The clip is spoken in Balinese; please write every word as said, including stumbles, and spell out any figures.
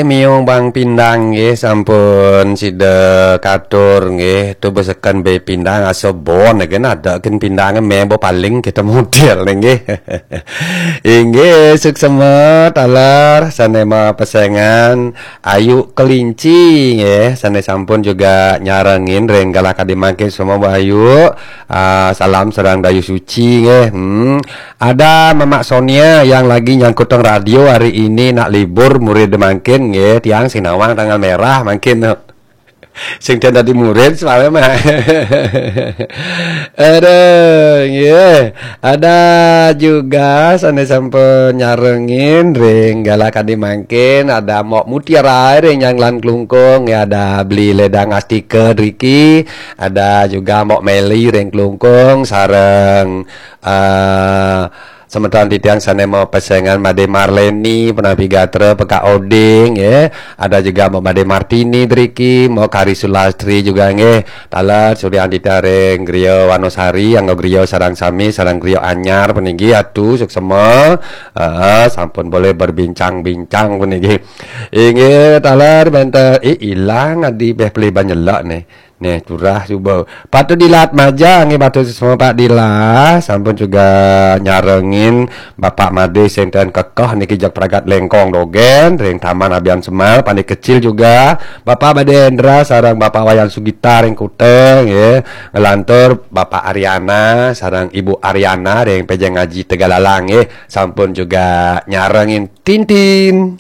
Miung Bang Pindang nggih, sampun sida katur nggih, tu beseken be pindang asa bon nggih, ada ken pindang me bo paling kita model nggih. Inggih, suksema taler sane mapesengan Ayu Kelinci nggih, sane sampun juga nyarengin ring galah kadi mangkin semua Bu Ayu. Ah, salam sareng Dayu Suci nggih. Hmm. Ada Mamak Sonia yang lagi nyangkutang radio hari ini nak libur murid mangkin nggih, tiang sing nawang tanggal merah mangkin. Sing ten dadi murid soalnya mah. Aduh, nggih. Ada juga sane sampun nyarengin ring galah kadi mangkin, ada Mok Mutiara ring Nyanglan Klungkung, ya ada Beli Ledang Astika driki, ada juga Mok Meli ring Klungkung sareng eh, semeton titiang sane mapesengan Made Marleni, Penapi Gatra, Pekak Oding, ya. Ada juga Mbok Made Martini driki, Mbok Kari Sulastri juga nggih. Taler Suryan Dita ring Griya Wanosari, anggo griya sareng sami, sareng griya anyar puniki atu suksema. Eh, sampun boleh berbincang-bincang puniki. Inggih, taler benten, eh, ilang adi beh pelih banyelak nih. Nih, curah cuba. Patu Dilat Maja nggih, patu semua Pak Dilat. Sampun juga nyarengin Bapak Made sing ten kekeh niki jak pragat lengkong dogen ring Taman Abian Semal, Pande Kecil juga. Bapak Made Endra sareng Bapak Wayan Sugita ring Kuta nggih. Ngelantur Bapak Ariana sareng Ibu Ariana ring Pejeng Ngaji Tegalalang nggih. Sampun juga nyarengin Tintin.